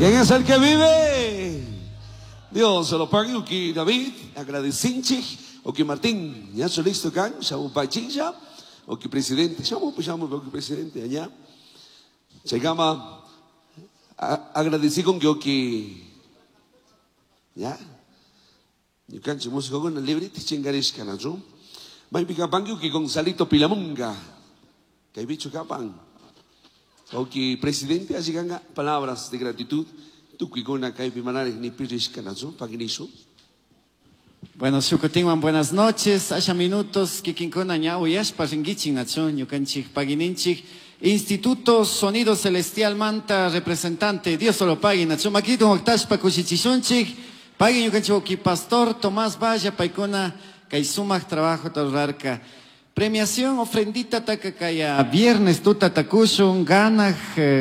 ¿Quién es el que vive? Dios se lo pague, uki David, agradecinchik, uki Martín, ya se listo kan, shamu pachincha, uki presidente, shamu, shamu, uki presidente, allá. Chaykama, agradecí con que uki, ya. Ñukanchik músicokuna librita chinkarishka, nachu. Maypi kapanki uki Gonzalito Pilamunga. Kaypichu kapan. Uki presidente, así ganga palabras de gratitud. Tukuykuna kaypi manaraj ni pirishka, nachu, paginishu. Bueno, shukutinwan buenas noches. Asha minutos kikinkuna ña uyashpa ringuichin, nachu, ñukanchik pagininchik. Instituto Sonido Celestial Manta, representante, Dios solo pague, nachu, makitun waktashpa kushichishunchik. Paguen ñukanchik uki pastor Tomás Valla, paykuna kay sumak trabajo rurarka. Premiación ofrendita taka kaya viernes tuta takushun, ganaj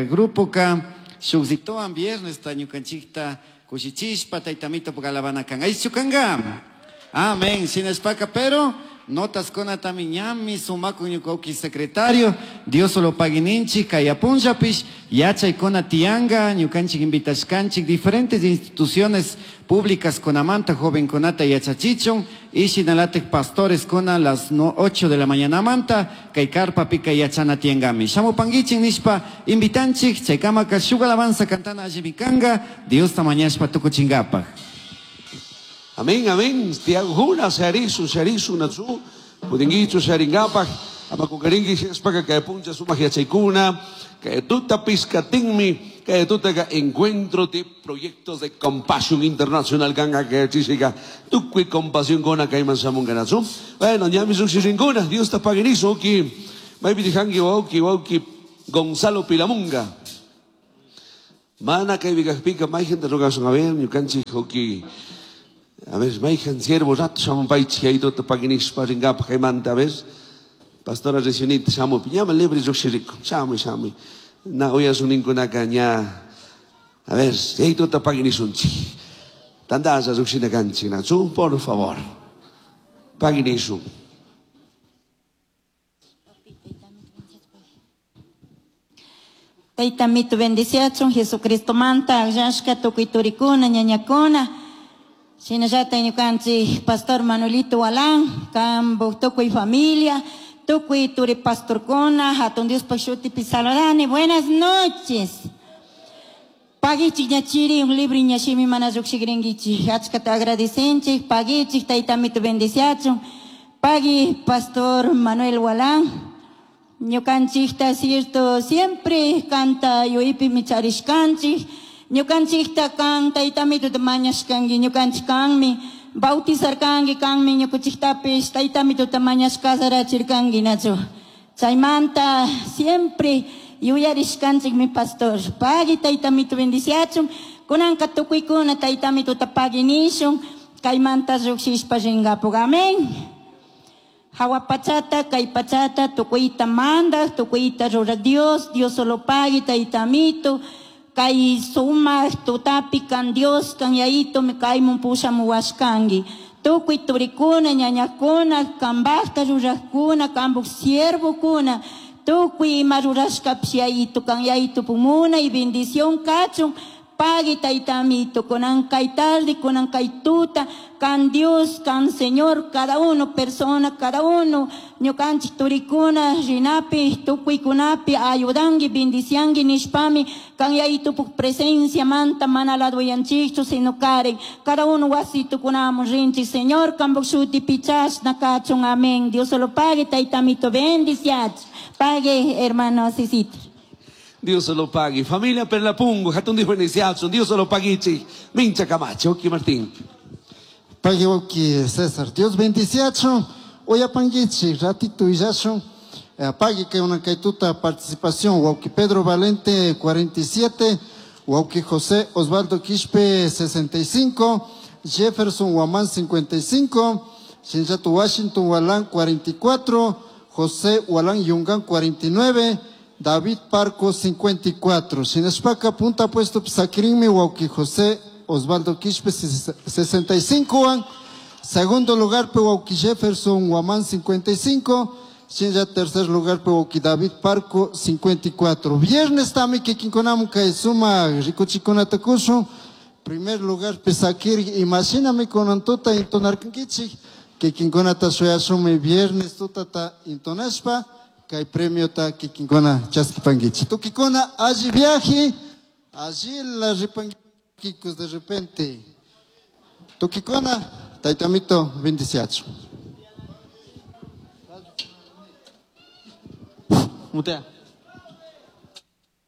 grupo ka shukzitoan viernes ta ñukanchikta kushichishpa taytamito pukalabana kan. Aychu kanga. Amén. Shinashpaka, pero notas kuna tami ñami sumaku ñuka secretario, Dios solo paguininchik, kaya punllapish, yachaykuna tiyanga, ñukanchik invitashkanchik, diferentes instituciones públicas kunamanta, jovenkunata yachachichun, y shinalatik pastores kuna las 8 de la mañana manta, kay carpa pika yachana tiangami. Shamupanguichin nishpa invitanchik, chaykamaka shuk alabanza cantana allimikanga, Dios ta mañashpa tukuchingapaj. Amén, amén. Tiago Juna, Sharisu, Sharisu, Natsu, Pudinguichu, Sharingapaj, Amakukaringi, Shespaka, que puncha su magia chaykuna, que tuta piscatinmi, que tuta que encuentro de proyectos de compasión internacional, ganga que chisica, tukui compasión con acá y mansamunga natsu. Bueno, ya mi suxirincuna, Dios te paguenizo, oki, maybe dijangi, oki, oki, Gonzalo Pilamunga. Mana que viga pica, may gente roga son a ver, ñukanchi, oki. A ver, mayhan siervo rato shamun paychi aytuta paginishpa ringapaj kaymanta, a ver. Pastora Resionita shamu, ñama libre lluqshiriku, shamuy, shamuy. Na uyasunninkunaka ña, a ver, aytuta paginishunchik. Tandasha lluqshina kanchik, nachu, por favor. Paginishun. Tayta mito bendiciachun, Jesucristo manta, akllashka tukuy turikuna, ñañakuna. Shinallata ñukanchik Pastor Manuelito Walán, kambu tukuy familia, tukuy turi pastorkuna, hatun Diospaj shutipi saludani. Buenas noches. Pagichik ñachiri, un libro ñashimi mana lluqshikrinkichik. Achkata agradecenchik, pagichik, tayta mito bendiciachun. Pagui Pastor Manuel Walán. Ñukanchikta cierto siempre canta yuypi micharishkanchik. Ñukanchikta kan tayta mituta mañashkanki, ñukanchik kanmi bautizarkanki, kanmi ñukuchiktapish tayta mituta mañashkasarachirkanki, nachu. Chaymanta siempre yuyarishkanchik mi pastor. Pagui tayta mitu bendiciachun, kunanka tukuykuna tayta mituta pagui nishun, kaymanta lluqshishpa rinkapuq. Amén. Hawa pachata, kay pachata, tukuyta mandaj, tukuyta ruraj Dios, Dios solo pagui tayta mitu. Kay sumak tutapi kan Dios kan yaito me kaymun pushamuwashkanki. Tukuy turikuna, ñañakuna, kambajta rurajkuna, kambuj siervokuna, tukuy ima rurashkapish yaito kan yaito pumuna y bendición kachun. Pagui tayta amito, kunan kay tarde, kunan kay tuta, kan Dios, kan Señor, cada uno, persona, cada uno, ñukanchik turikuna, rinapi, tukuykunapi, ayudangi, bendiciangi, nishpami, kan yaytupuk presencia manta, mana laduyanchikchu, sino karen, cada uno wasitukunamun rinchik, Señor, kambuk shuti pichashna kachun, amén. Dios solo pague, tayta amito, bendiciach. Pague, hermano Cecito. Dios se lo pague. Familia Perlapungo, Jatun dijo Dios se lo pague, Mincha Camacho, Oki Martín. Pague Oki César. Dios bendiciacho. Oya panguichi, ratito y yacho. Pague que una caituta participación. Wauki Pedro Valente, 47. Wauki José Osvaldo Quispe, 65. Jefferson Guamán, 55. Shinjato Washington Walán, 44. José Walán Yungán, 49. David Parco, 54. Shinashpaka, punta puesto, Psakirinmi, Wauki José Osvaldo Quispe, 65. Segundo lugar, Wauki Jefferson Guamán, 55. Shinlla tercer lugar pe David Parco 54. Viernes tami kikinkunamun kay sumak rikuchikunata kushun. Primer lugar pe sakir imashinami kunan tuta intonarkankichik. Kikinkunata shuyashunmi viernes tutata intonashpa kay premiota kikinkuna chaskipankichik. Tukikuna alli viaje, allí la ripankikus de repente. Tukikuna, taytamito bendiciacho. Mutea.